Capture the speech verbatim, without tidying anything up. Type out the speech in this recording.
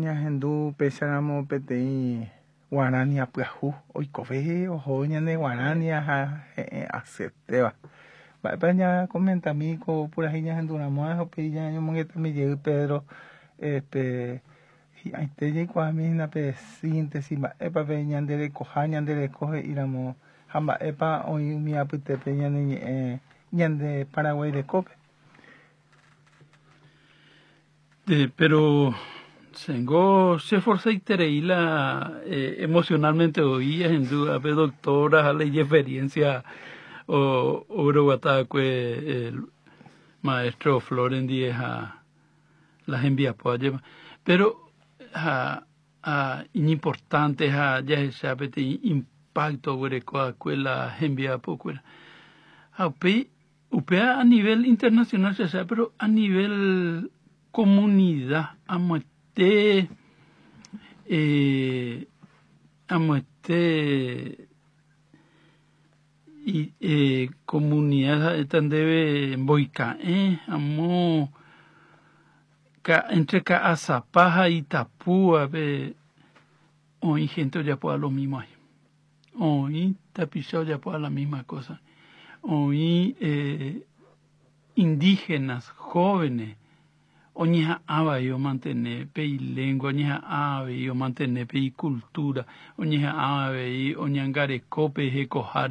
Ñahendu péicharamo peteĩ guarania pyahu oikove oho ñane guarania ha he'ẽ asyetéva. Mba'épa ñakomentami ko purahéi ñahenduramo ha upéi ñañomongetami jey Pedro, este, hi'ãite jaikuaami hína pe síntesis mba'épa pe ñanderekoha ñandereko he'íramo ha mba'épa oĩ umi apytépe ñane ñe'ẽ ñande Paraguái rekópe. Eh, pero Sengo se esforzaiterei la eh, emocionalmente oí ahendu ápe doctora ha la ijexperiencia o ogueroguata'akue el maestro Flores ndive ha la hembiapo ajépa. Pero ha ha iñimportante ha jahecha peteĩ impacto oguereko'akue la hembiapokuéra. Ha upéi upéva a nivel internacional cheacha pero a nivel comunidad amoite eh, amoite y, eh, comunidad ha'éta ndéve mboika'ẽ amo ka, entre Ka'asapa ha Itapúape oĩ gente ojapóva lo mismo ahí. Oĩ tapicha ojapóva la misma cosa. Oĩ eh, indígenas jóvenes oñeha'ãva avei omantene pe ilengua, oñeha'ã avei omantene pe icultura, oñeha'ã avei oñangareko pe hekoháre.